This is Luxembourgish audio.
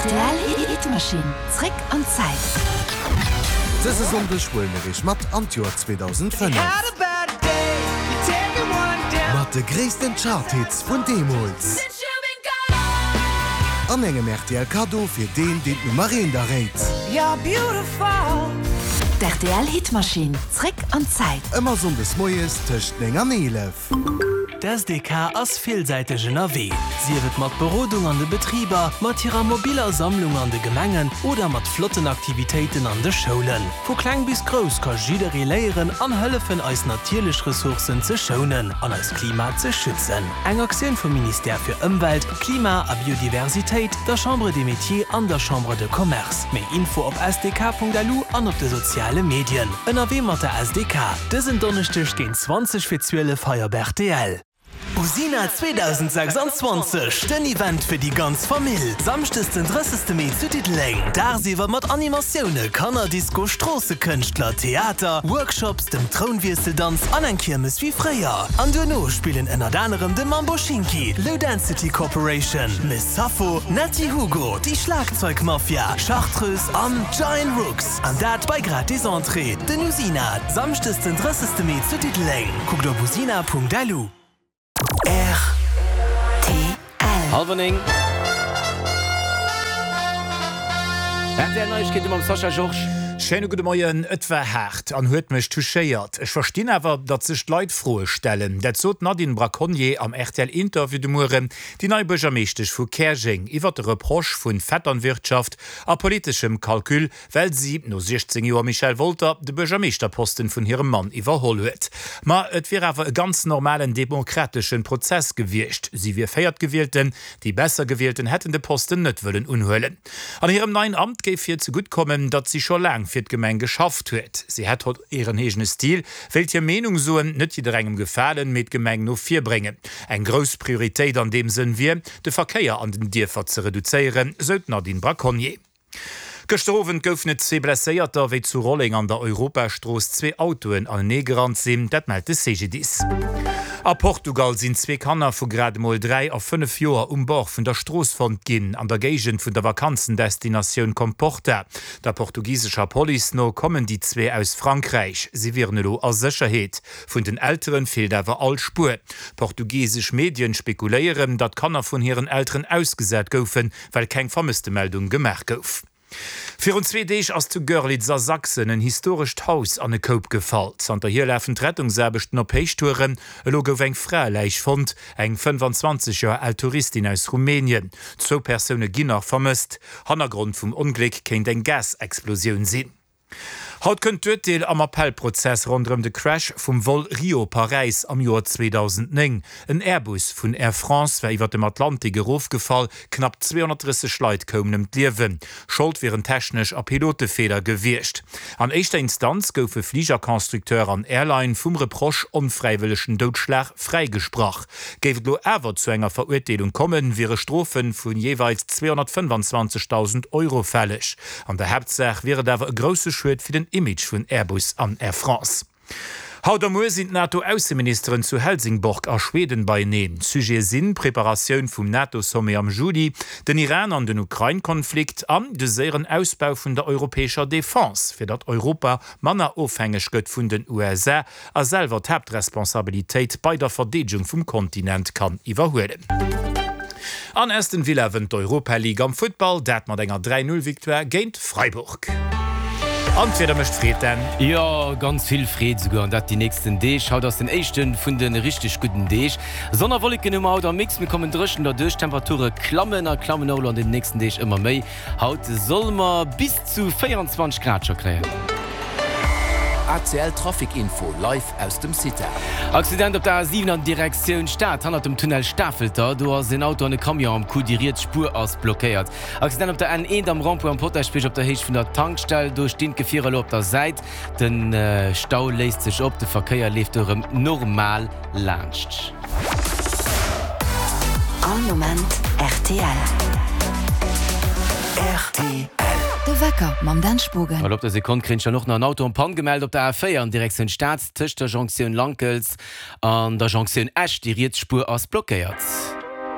Rtl Hitmachine, zréck an d'Zäit. Dëse Sonndeg huele mir iech mat an d'Joer 2005. Mat de gréissten Chart-Hits vun deemools. An engem rtl Kaddo fir deen, deen d'Nummer eent erréit. D'RTL Hitmachine, zréck an d'Zäit. Ëmmer Sonndes moies tëscht 9 an 11. D'SDK ass villsäiteg ënnerwee, sief et mat Berodung an de Betriber, mat hirer mobiller Sammlung an de Gemengen oder mat flotten Aktivitéiten an de Schoulen. Vu kleng bis grouss ka jidderee léieren an hëllefen eis natierlech Ressourcen ze schounen an eist Klima ze schützen. Eng Aktioun vum Ministère fir Ëmwelt, Klima a Biodiversitéit, der Chambre des Métiers an der Chambre de Commerce. Méi Info op sdk.lu an op de soziale Medien. Ënnerwee mat der SDK, dësen Donneschdeg géint 20 fir 12 hei op rtl. Usina 2026, den Event fir déi ganz Famill! Samschdes den 30 Mee zu Diddeleng. Dagsiwwer mat Animatioune, Kannerdisco, Stroossekënschtler, Theater, Workshops, dem Trounwiesseldanz an eng Kiermes wéi fréier. An duerno spillen ënnert anerem de Mambo Schinki, Low Density Corporation, Miss Sappho, Netty Hugo, déi Schlagzeugmafia, Chartreuse an Giant Rooks. An dat bei gratis Entrée. Den Usina, Samschdes den 30 Mee zu Diddeleng. Kuckt op usina.lu. Rtl. Halwer 9. Rtl Neiegkeete mam Sascha Georges. Schéine gudde Moien. Et war haart an huet mech touchéiert. Ech verstinn awer, datt sech d'Leit Froe stellen. Dat sot d'Nadine Braconnier am RTL-Interview de Mueren, déi nei Buergermeeschtesch vu Käerjeng, iwwer de Reproche vun Vetternwirtschaft a politeschem Calcul, well si, no 16 Joer Michel Wolter, de Buergermeeschterposten vun hirem Mann iwwerholl huet. Ma et wier awer e ganz normalen demokrateschen Prozess gewiescht. Si wier Véiertgewielten, déi Bessergewielten hätten de Posten net wëllen unhuelen. An hirem neien Amt géif hir zegutt kommen, datt si scho laang fir d'Gemeng geschafft huet. Si hätt hiren eegene Stil, wéilt hir Meenung soen, net jidderengem gefalen, mee d'Gemeng no vir bréngen. Eng grouss Prioritéit an deem Sënn wier, de Verkéier an den Dierfer ze reduzéieren, sou d'Nadine Braconnier. Gëschter Owend goufen et zwee Blesséierter, wéi zu Rolleng an der Europastrooss zwee Autoen aneneegerannt sinn. Dat mellt de CGDIS. A Portugal sinn zwee Kanner vu grad emol 3 a 5 Joer um Bord vun der Strooss fonnt ginn, an der Géigend vun der Vakanzendestinatioun Comporta. Der portugisescher Police no kommen déi zwee aus Frankräich. Si wieren elo a Sécherheet. Vun den Elteren feelt awer all Spuer. Portugisesch Medien spekuléieren, datt d'Kanner vun hiren Elteren ausgesat goufen, well keng Vermësstemeldung gemaach gouf. Virun zwee Deeg ass zu Görlitz a Sachsen en historescht Haus an e Koup gefall. Zanterhier lafen d'Rettungsaarbechten op Héichtouren. Elo gouf eng Fraeläich fonnt, eng 25 Joer al Touristin aus Rumänien. Zwou Persoune ginn nach vermësst. Hannergrond vum Ongléck kéint eng Gasexplosioun sinn. Haut kënnt d'Urteel am Appellprozess ronderëm de Crash vum Vol Rio-Paräis am Joer 2009. En Airbus vun Air France war iwwer dem Atlantik erofgefall, knapp 230 Leit koumen ëm d'Liewen. Schold wieren technesch a Pilotefeeler gewiescht. An éischter Instanz goufe Fligerconstructeur an Airline vum Reproche onfräiwëllegen Doudschlag fräigesprach. Géif et elo awer zu enger Verurteelung kommen, wiere Strofe vu jeeweils 225.000 Euro fälleg. An der Haaptsaach wier et awer e grousse Schued fir den Image vun Airbus an Air France. Haut a muer sinn d'NATO-Ausseministeren zu Helsingborg a Schweden beieneen. Sujete sinn d'Preparatioun vum NATO-Sommet am Juli, den Iran an den Ukrain-Konflikt an de séieren Ausbau vun der europäescher Defense, fir datt Europa manner ofhängeg gëtt vun den USA a selwer d'Haaptresponsabilitéit bei der Verdeedegung vum Kontinent kann iwwerhuelen. An Aston Villa wënnt d'Europa League am Futtball, dat mat enger 3, 0 Victoire géint Freiburg. An d'Wieder mécht Freed, Dan. Jo, ganz vill Freed esouguer, an dat déi nächsten Deeg. Haut ass den éischte vun de richteg gudden Deeg. Sonn a Wolleken hu mer haut am Mix, mir kommen dréchen derduerch. D'Temperature klammen a klammen och elo an den nächsten Deeg ëmmer méi. Haut solle mer bis zu 24 Grad scho kréien. ACL Trafic Info live aus dem CITA. Accident op der A7 an Direktioun Stad, hannert dem Tunnel Stafelter. Do ass en Auto an e Camion am Coup, déi riets Spuer ass blockéiert. Accident op der N1 am Rond-point am Potaschbierg op der Héicht vun der Tankstell. Do stinn d'Gefierer elo op der Säit. De Stau léist sech op, de Verkéier leeft do erëm normal laanscht. All Moment rtl. Rtl. De Wecker mam Dan Spogen. Well op der Sekonn kréint ech dann och nach en Auto en Panne gemellt op der A4 an Direktioun Stad tëscht der Jonktioun Lankels an der Jonktioun Esch. Déi riets Spuer ass blockéiert.